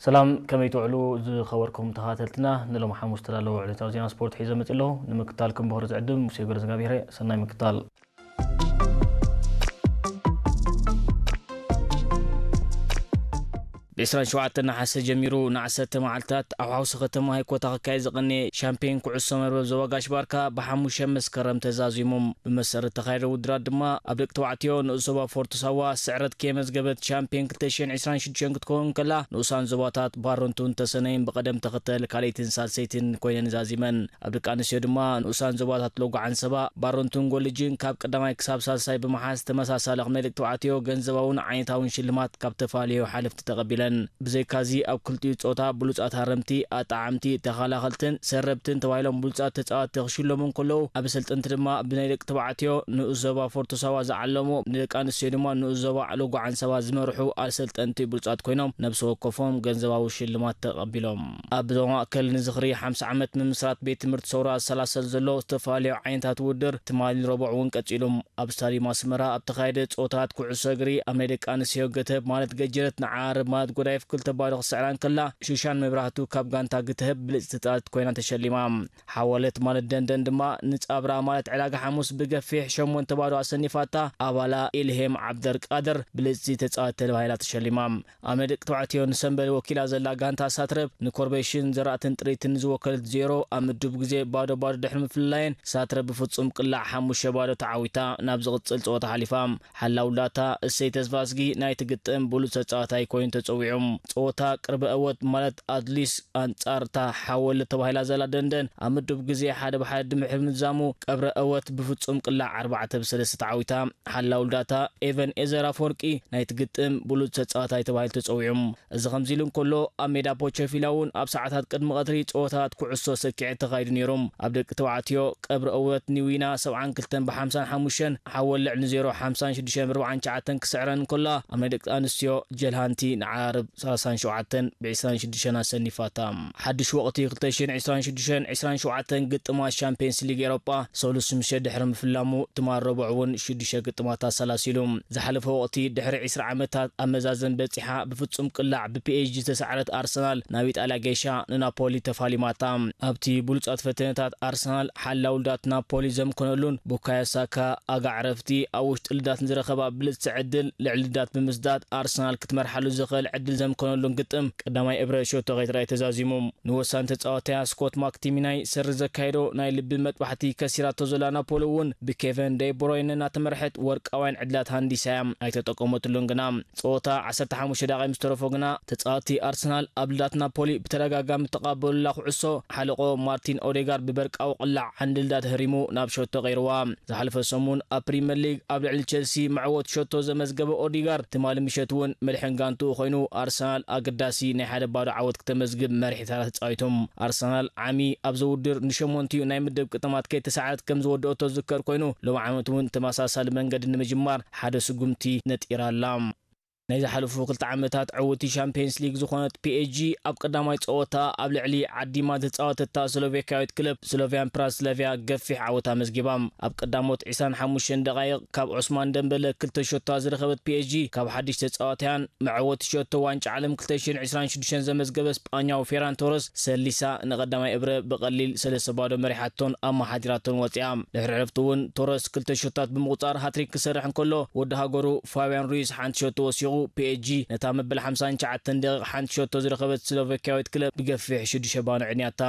ሰላም፣ ከመይ ትውዕሉ ዝኸበርኩም ተኸታተልትና? ንሎሚ ሓሙስ ዝተዳለወ ዕለታዊ ዜና ስፖርት ሒዘ መጺእ ኣለኹ። ንምክታልኩም ብኽብሪ ዝዕድም ሙሴ ገረዝጋብሄር። ሰናይ ምክታል። ብ ዕስራን ሸውዓተን ነሓሰ ጀሚሩ ንዓሰርተ መዓልታት ኣብ ሓውሲ ከተማ ሃይኮታ ክካየድ ዝቐነየ ሻምፒዮን ኩዕሶ መርበብ ዞባ ጋሽ ባርካ ብሓሙሽተ መስከረም ተዛዚሙ። ብመሰረት ተኻየደ ውድድራት ድማ ኣብ ደቂ ተባዕትዮ ንኡስ ዞባ ፎርቶ ሳዋ ስዕረት ከየመዝገበት ሻምፒዮን ክልተ ሽሕን ዕስራን ሽዱሽተን ክትከውን ከላ፣ ንኡሳን ዞባታት ባረንቱን ተሰነይን ብቐደም ተኸተል ካልኣይትን ሳልሰይትን ኮይነን ዛዚመን። ኣብ ደቂ ኣንስትዮ ድማ ንኡሳን ዞባታት ሎጎ ዓንሰባ፣ ባረንቱን ጎልጅን ካብ ቀዳማይ ክሳብ ሳልሳይ ብምሓዝ ተመሳሳሊ ከም ናይ ደቂ ተባዕትዮ ገንዘባውን ዓይነታውን ሽልማት ካብ ተፈላለዩ ሓለፍቲ ተቐቢለን። ብዘይካዚ ኣብ ክልቲኡ ጾታ ብሉጻት ሃረምቲ፣ ኣጣዓምቲ፣ ተኸላኸልትን ሰረብትን ተባሂሎም ብሉጻት ተጻወትቲ ክሽለሙ እንከለዉ፣ ኣሰልጠንቲ ድማ ብናይ ደቂ ተባዕትዮ ንኡስ ዞባ ፎርቶ ሳዋ ዝዓለሙ፣ ንደቂ ኣንስትዮ ድማ ንኡስ ዞባ ሎጎ ዓንሰባ ዝመርሑ ኣሰልጠንቲ ብሉጻት ኮይኖም ነብሲ ወከፎም ገንዘባዊ ሽልማት ተቐቢሎም። ኣብ ዞባ ማእከል ንዝኽሪ ሓምሳ ዓመት ምምስራት ቤት ትምህርቲ ሰውራ ዝሰላሰል ዘሎ ዝተፈላለዩ ዓይነታት ውድድር ትማሊ ረቡዕ እውን ቀጺሉ። ኣብ ስታዲየም ኣስመራ ኣብ ተኻየደ ጸወታት ኩዕሶ እግሪ ኣብ ናይ ደቂ ኣንስትዮ ግትህብ ማለት ገጀረት ንዓርብ ማለት ጎዳይፍ ክልተ ባዶ ክስዕራ እንከላ፣ ሹሻን መብራህቱ ካብ ጋንታ ግትህብ ብልጽቲ ተጻዋቲት ኮይና ተሸሊማ። ሓወለት ማለት ደንደን ድማ ንጻብራ ማለት ዕዳጋ ሓሙስ ብገፊሕ ሸሞንተ ባዶ ኣሰኒፋታ፣ ኣባላ ኢልሄም ዓብደር ቃድር ብልጽቲ ተጻዋቲት ተባሂላ ተሸሊማ። ኣብ ናይ ደቂ ተባዕትዮ ንሰምበል ወኪላ ዘላ ጋንታ ሳትረብ ንኮርቤሽን ዘራእትን ጥሪትን ዝወከለት ዜሮ ኣብ ምዱብ ግዜ ባዶ ባዶ ድሕሪ ምፍልላየን፣ ሳትረብ ብፍጹም ቅላዕ ሓሙሽተ ባዶ ተዓዊታ ናብ ዝቕጽል ጸወታ ሓሊፋ። ሓላው ዳታ እሰይ ተስፋዝጊ ናይቲ ግጥም ብሉጽ ተጻዋታይ ኮይኑ ተጸዊዑ። ጸወታ ቅርበ እወት ማለት ኣትሊስ ኣንጻርታ ሓወል ተባሂላ ዘላ ደንደን ኣብ ምዱብ ግዜ ሓደ ብሓደ ድምሕሪ ምዛሙ ቀብረ እወት ብፍጹም ቅላዕ ኣርባዕተ ብሰለስተ ተዓዊታ። ሓላው ዳታ ኤቨን ኤዘር ኣፈወርቂ ናይቲ ግጥም ብሉጽ ተጻዋታይ ተባሂሉ ተጸዊዑ። እዚ ከምዚ ኢሉ እንከሎ፣ ኣብ ሜዳ ፖቸፊላ እውን ኣብ ሰዓታት ቅድሚ ቀትሪ ጸወታት ኩዕሶ ሰኪዐ ተኻይዱ ነይሩ። ኣብ ደቂ ተባዕትዮ ቀብሪ እወት ኒዊና ሰብዓን ክልተን ብሓምሳን ሓሙሽተን፣ ሓወል ልዕሊ ዜሮ ሓምሳን ሽዱሽተን ብኣርባዓን ትሽዓተን ክስዕረን እንከላ፣ ኣብ ናይ ደቂ ኣንስትዮ ጀልሃንቲ ንዓርብ ሰላሳን ሸውዓተን ብዕስራን ሽዱሽተን ኣሰኒፋታ። ሓድሽ ወቕቲ ክልተ ሽሕን ዕስራን ሽዱሽተን ዕስራን ሸውዓተን ግጥማት ሻምፒየንስ ሊግ ኤሮጳ ሰሉስ ምሸት ድሕሪ ምፍላሙ፣ ትማል ረቡዕ እውን ሽዱሽተ ግጥማት ኣሰላሲሉ። ዝሓለፈ ወቕቲ ድሕሪ ዕስራ ዓመታት ኣብ መዛዘም በጺሓ ብፍጹም ቅላዕ ብፒኤስጂ ዝተሳዕረት ኣርሰናል ናብ ኢጣልያ ገይሻ ንናፖሊ ተፋሊማታ። ኣብቲ ብሉጻት ፈተነታት ኣርሰናል ሓላው ልዳት ናፖሊ ዘምከነሉን ቡካዮ ሳካ ኣጋ ዕረፍቲ ኣብ ውሽጢ ልዳት ንዝረኸባ ብልጽቲ ዕድል ልዕሊ ልዳት ብምስዳድ ኣርሰናል ክትመርሓሉ ዝኽእል ዕድል ዘምከነሉን ግጥም ቀዳማይ እብረ ሸቶ ከይትረኣይ ተዛዚሙ። ንወሳኒ ተጻዋትያ ስኮት ማክቲሚናይ ሰሪ ዘካየዶ ናይ ልቢ መጥባሕቲ ከሲራቶ ዘላ ናፖሊ እውን ብኬቨን ደይ ብሮይነ እናተመርሐት ወርቃውያን ዕድላት ሃንዲሳ እያ። ኣይተጠቀመትሉን ግና። ጸወታ ዓሰርተ ሓሙሽተ ደቂቕ ምስ ተረፎ ግና ተጻወትቲ ኣርሰናል ኣብ ልዳት ናፖሊ ብተደጋጋሚ ተቓበሉላ ኩዕሶ ሓለቆ ማርቲን ኦዴጋርድ ብበርቃዊ ቅላዕ ዓንዲ ልዳት ህሪሙ ናብ ሸቶ ቀይርዋ። ዝሓለፈ ሰሙን ኣብ ፕሪምየር ሊግ ኣብ ልዕሊ ቸልሲ መዕወት ሸቶ ዘመዝገበ ኦዴጋርድ ትማሊ ምሸት እውን መልሕን ጋንትኡ ኮይኑ ኣርሰናል ኣገዳሲ ናይ ሓደ ባዶ ዓወት ክተመዝግብ መሪሕ ተራ ተጻዊቶም። ኣርሰናል ዓሚ ኣብዚ ውድድር ንሸሞንቲኡ ናይ ምድብ ግጥማት ከይተሳዕረት ከም ዝወደኦቶ ዝዝከር ኮይኑ፣ ሎም ዓመት እውን ተመሳሳሊ መንገዲ ንምጅማር ሓደ ስጉምቲ ነጢራ ኣላ። ናይ ዝሓለፉ ክልተ ዓመታት ዕውቲ ሻምፒየንስ ሊግ ዝኾነት ፒኤስጂ ኣብ ቀዳማይ ጸወታ ኣብ ልዕሊ ዓዲማ ዝተጻወተታ ስሎቬካዊት ክለብ ስሎቪያን ፕራስለቪያ ገፊሕ ዓወት ኣመዝጊባ። ኣብ ቀዳሞት ዕስራን ሓሙሽተን ደቓይቕ ካብ ዑስማን ደምበለ ክልተ ሸቶ ዝረኸበት ፒኤስጂ ካብ ሓድሽ ተጻዋትያን መዕወቲ ሸቶ ዋንጫ ዓለም ክልተ ሽሕን ዕስራን ሽዱሽተን ዘመዝገበ ስጳኛዊ ፌራን ቶረስ ሰሊሳ ንቐዳማይ እብረ ብቐሊል ሰለስተ ባዶ መሪሓቶን ኣመሓዲራቶን ወጺኣ። ድሕሪ ዕረፍቲ እውን ቶረስ ክልተ ሸቶታት ብምቑጻር ሃትሪክ ክሰርሕ እንከሎ፣ ወዲ ሃገሩ ፋብያን ሩይስ ሓንቲ ሸቶ ወሲኹ፣ ፒኤስጂ ነታ መበል ሓምሳን ትሽዓተን ደቂቕ ሓንቲ ሸቶ ዝረኸበት ስሎቫኪያዊት ክለብ ብገፊሕ ሽዱሽተ ባዶ ዕንያታ።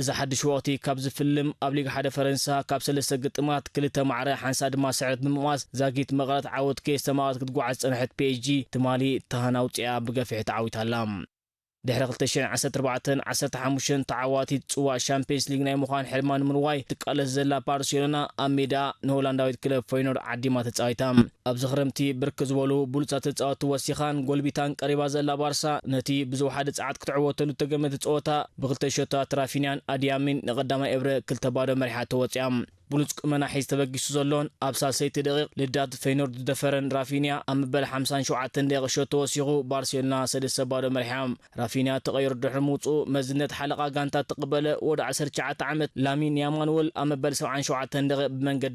እዚ ሓድሽ ወቕቲ ካብ ዝፍልም፣ ኣብ ሊግ ሓደ ፈረንሳ ካብ ሰለስተ ግጥማት ክልተ ማዕረ ሓንሳ ድማ ስዕረት ብምቕማስ ዛጊት መቐረት ዓወት ከየስተማቐረት ክትጓዓዝ ዝጸንሐት ፒኤስጂ ትማሊ ተሃን ኣውጺኣ ብገፊሕ ተዓዊታ ኣላ። ድሕሪ ክልተ ሽሕን ዓሰርተ ኣርባዕተን ዓሰርተ ሓሙሽተን ተዓዋቲት ጽዋእ ሻምፒየንስ ሊግ ናይ ምዃን ሕልማ ንምርዋይ ትቃለስ ዘላ ባርሴሎና ኣብ ሜዳ ንሆላንዳዊት ክለብ ፈይኖርድ ዓዲማ ተጻዊታ። ኣብዚ ክረምቲ ብርክት ዝበሉ ብሉጻት ተጻወትቲ ወሲኻን ጎልቢታን ቀሪባ ዘላ ባርሳ፣ ነቲ ብዝወሓደ ጸዓት ክትዕወተሉ እተገመተ ጸወታ ብክልተ ሸቶታት ራፊንያን ኣድያሚን ንቐዳማይ እብረ ክልተ ባዶ መሪሓቶ ወጺኣ። ብሉጽ ቁመና ሒዝ ተበጊሱ ዘሎን ኣብ ሳልሰይቲ ደቂቕ ልዳት ፈይኖርድ ዝደፈረን ራፊንያ ኣብ መበል ሓምሳን ሸውዓተን ደቂቕ ሸቶ ወሲኹ ባርሴሎና ሰለስተ ባዶ መሪሓ። ራፊንያ ተቐይሩ ድሕሪ ምውጽኡ መዝነት ሓለቓ ጋንታ እተቐበለ ወዲ ዓሰርተ ትሽዓተ ዓመት ላሚን ያማል እውን ኣብ መበል ሰብዓን ሸውዓተን ደቂቕ ብመንገዲ